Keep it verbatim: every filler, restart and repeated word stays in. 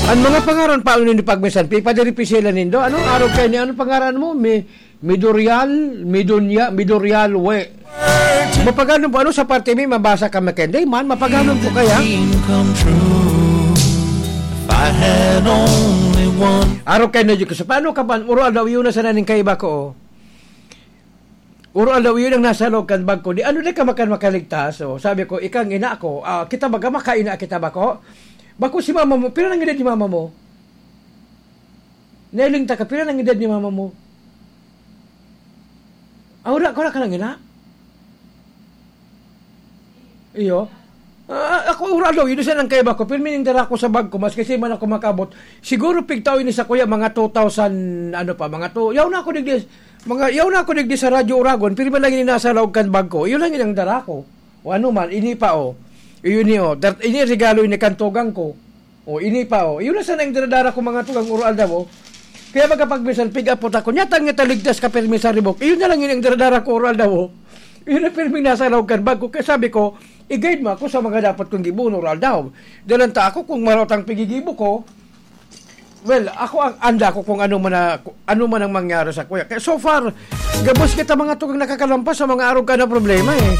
Ang mga pangaran pa, ano ni pagminsan, pipadiripisila nindo? Ano, araw kayo ni, ano pangaran mo? Mi, Midorial, Midunya, Midorial, we. Mapagano po, ano sa parte mi, mabasa ka, Mackenzie? Man, mapagano po kaya? Dream come true. If I had only one. Araw kayo na dyan ko. So, paano ka ba? Uro daw, yun na sana ning kaiba ko, oh. Uro daw, yun ang nasa loob kan bag ko. Di, ano di ka makan makaligtas? Oh, sabi ko, "Ikang ina ko, ah, kita baga makaina kita ba ko?" Bako si mama mo, pira nang edad ni mama mo? Nailing ta ka, pira nang edad ni mama mo? Ah, wala, wala ka nang ina? Iyo. Ah, ako, ura daw, yun siya nang kaiba ko. Pirmi ning dara ko sa bag ko, mas kasi man ako makabot. Siguro pigtao ini sa kuya, mga two thousand, ano pa, mga two. Yaw na ako digdi, mga, yaw na ako digdi sa Radyo Uragon, pirmi lang ini nasa laog kan bag ko. Yun lang yun ang dara ko. O ano man, ini pa, oh. Yun ni, oh. Dat-, ini regalo ini kan tugang ko. O, ini pa, oh. Yun na sana yung daradara ko, mga tugang, uro aldaw, oh. Kaya magkapagminsan, pick up po ako. Nyata nga taligtas ka, pirmi sa ribok. Yun na lang yun ang daradara ko, uro aldaw, oh. Yun ang pirmi nasa laog kan bag ko. Kaya sabi ko, i-guide mo ako sa mga dapat kong gibuon, uro aldaw. Dalan ta ako kung maraot ang pigigibo ko. Well, ako ang anda ko kung ano man na, ano man ang mangyari sa kuya. Kaya so far, gabos kita mga tugang nakakalampas sa mga arog ka na problema, eh.